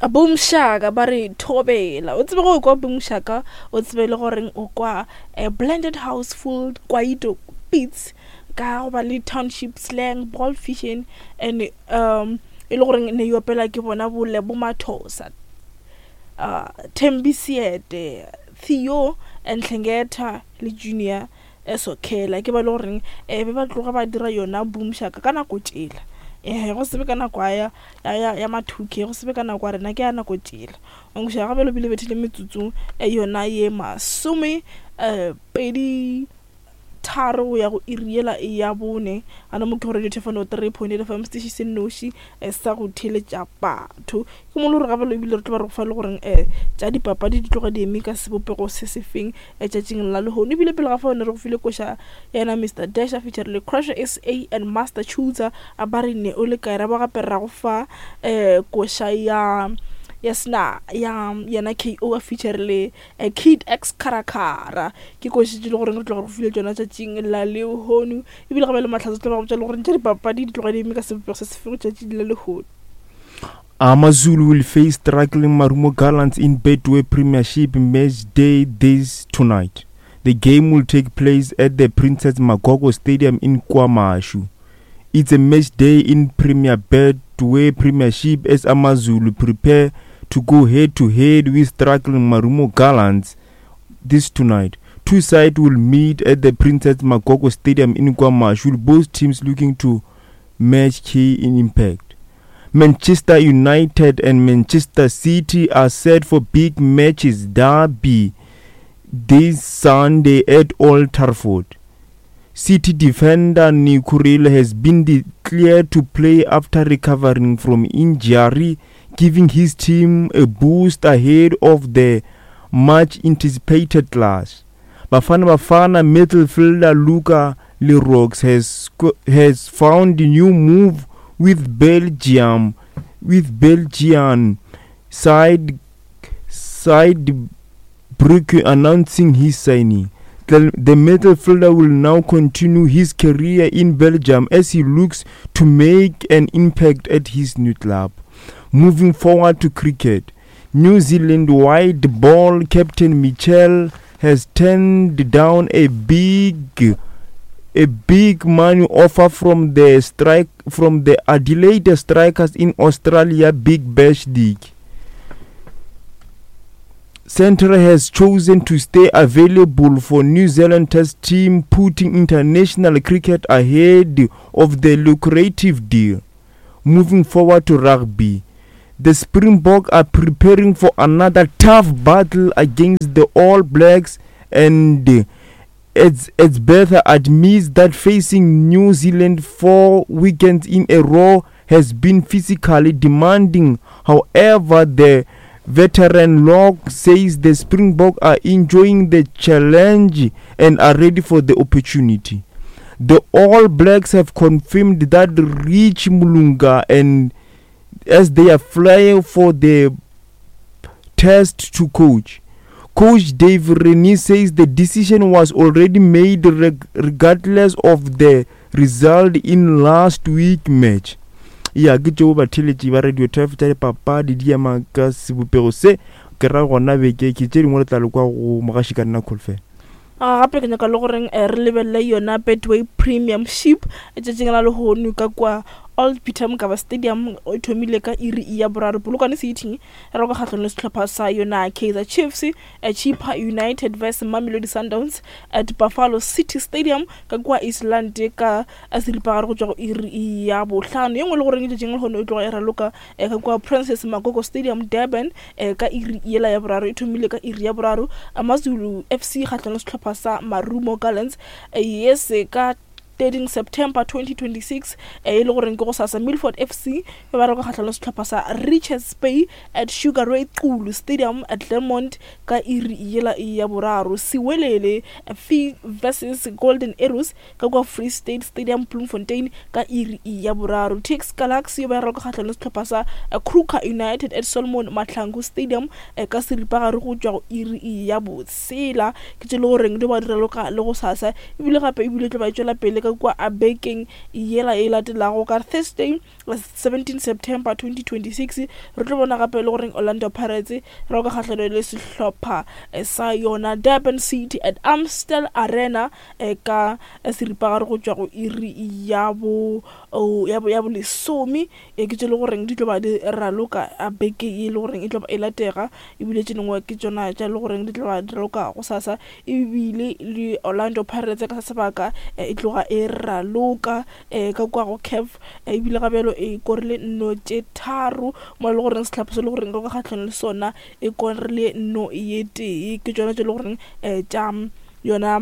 Boomshaka ba re thobela o tsebe go kwa Boomshaka o tsebe le goreng o kwa eh, blended house full kwaito beats ka go ba le township slang ball fission and um e le goreng ne e opela ke bona bo Lebo Mathosa uh, Thembi Seete Theo and Hlengeta le Junior Sokhela ke ba e le goreng um be ba tloga ba dira yona boomshaka ka nako tšela um go se be ka nako ya ya ya ma-two K go se be ka nako ya rena ke ya nako tšela nkoša gape lobile bethile metsotsong e yona ye masome um pedi tharo go ya go iri yela ya bone gana mo ke go radio thefano 3.8 fm setiši se nnoši eh, sa go theeletša batho ke mo le gore gape ebile re tlo ba re go fa le goreng um tša dipapadi di tloga di eme ka sebopego se se feng letšatšing la lehono ebile pele ga fao ne re go file koša yena Mr Dash a feature le Crusher SA and Master Chooser a ba re ne o le kae ra ba gape ra go fa um koša ya ya sena ya yena KO a feature le eh, Kid X Karakara ke koši tše le goreng re tloga re go file tšona tšatšing la lehono ebile gape le mahlatse tlo ba go botša le goreng tša dipapadi di tloga di eme ka sebopego se se fego tšatšing la lehono. AmaZulu will face struggling Marumo Gallants in Betway Premiership match day this tonight. The game will take place at the Princess Magogo Stadium in KwaMashu. It's a match day in Premier Betway Premiership as AmaZulu prepare to go head to head with struggling Marumo Gallants this tonight. Two sides will meet at the Princess Magogo Stadium in KwaMashu, with both teams looking to match key in impact. Manchester United and Manchester City are set for big matches derby this Sunday at Old Trafford. City defender Nico Reilly has been declared to play after recovering from injury, giving his team a boost ahead of the much anticipated clash. Bafana Bafana midfielder Luca Leroux has has found a new move with Belgium with Belgian side side Brugge announcing his signing. The, the midfielder will now continue his career in Belgium as he looks to make an impact at his new club. Moving forward to cricket, New Zealand white ball captain Mitchell has turned down a big a big money offer from the strike from the Adelaide Strikers in Australia Big Bash League. Centre has chosen to stay available for New Zealand Test team, putting international cricket ahead of the lucrative deal. Moving forward to rugby, the Springbok are preparing for another tough battle against the All Blacks and it's, it's better admits that facing New Zealand four weekends in a row has been physically demanding. However, the veteran Locke says the Springbok are enjoying the challenge and are ready for the opportunity. The All Blacks have confirmed that Rich Mulunga and as they are flying for the test to coach. Coach Dave Rennie says the decision was already made reg- regardless of the result in last week match. Ya ke tšeo batheeletši ba Radio 12 tša dipapadi di ema ka sebopego se ke ra gona beke ke tše dingwe re tla lekwa go mogaši ka nna Kholofelo. Ah, gape ke nyaka le goreng eh, re lebelele yona Betway Premiership tšatšing la lehono ka kwa Old Peter Mokaba Stadium e thomile ka iri ya boraro. Polokwane City e roka kgahlano le sehlopha sa yona Kaizer Chiefs, eh, Chippa United vs Mamelodi Sundowns at Buffalo City Stadium ka kwa East London ka seripagare go tšwa go iri ya bohlano. Ye nngwe le goreng tšatšing la lehono e tloga e raloka eh, ka kwa Princess Magogo Stadium Durban eh, ka iri yela ya boraro e thomile ka iri ya boraro. Amazulu FC kgahlano le sehlopha sa Marumo Gallants eh, yes ka 13 September 2026 e le goreng ke go sasa Milford FC e ba reka kgahlano le sehlopha sa Richards Bay at Sugar Ray Xulu Stadium at Claremont ka iri yela ya boraro. Siwelele FC versus Golden Arrows ka kwa Free State Stadium Bloemfontein ka iri ya boraro. TS Galaxy ba reka kgahlano le sehlopha sa Kruger United at Solomon Mahlangu Stadium ka seripagare go tšwa go iri ya botshela. Ke tše le goreng di ba diraloka le go sasa ebile gape ebile tlo ba e tšwela pele ka. ka kua a bekeng yela e latelago ka Thursday 17 September 2026. Re tlo bona gape le goreng Orlando Pirates raloka kgahlano le sehlopha sa yona Durban City at Amstel Arena ka seripagare go tšwa go iri ya bo ya bo ya bolesome. Ke tše le goreng di tlo ba di raloka beke ye le goreng e tlo ba e latega, ebile tše dingwe ke tšona tša le goreng di tlo ba di raloka gosasa. Ebile le Orlando Pirates ka se sebaka e tloga e raloka ka kua go CAF, ebile ga bjalo e korile nno tše tharo, mo e le goreng sehlopha se le goreng ka kgahlano le sona e korile nno ye tee. Ke tšona tše le goreng tša yona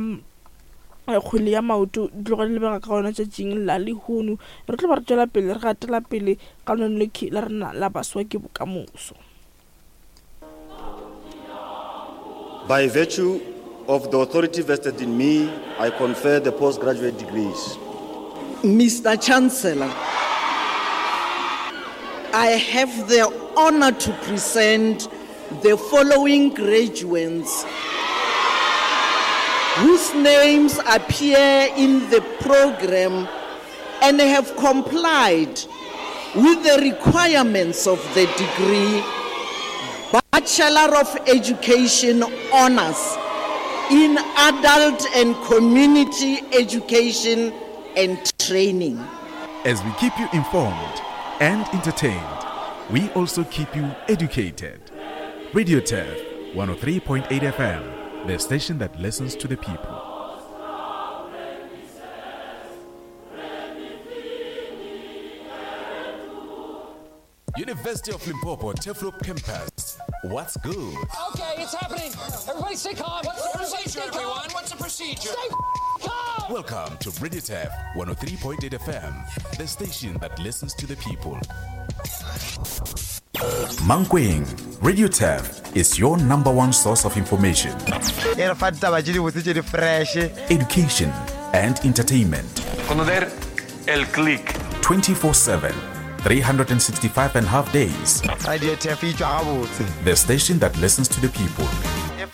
kgwele ya maoto di tloga di lebega ka gona tšatšing la lehono. Re tlo ba re tšwela pele re gatela pele ka lona lekhi la rena la Baswa ke Bokamoso. By virtue of the authority vested in me, I confer the postgraduate degrees. Mr. Chancellor, I have the honor to present the following graduates whose names appear in the program and have complied with the requirements of the degree Bachelor of Education Honors in Adult and Community Education and Training. As we keep you informed and entertained, we also keep you educated. Radio Turf 103.8 FM, the station that listens to the people. University of Limpopo, Turfloop Campus. What's good? Okay, it's happening. Everybody stay calm. What's the Everybody procedure, stay calm. everyone? What's the procedure? Stay calm. Welcome to Radio Turf 103.8 FM, the station that listens to the people. Mankweng, Radio Turf is your number one source of information, e re fa ditaba tše dibotse tše di fresh education, and entertainment. Conocer el click. 24 7, 365 and a half days. Radio Turf e tšwa gabotse The station that listens to the people.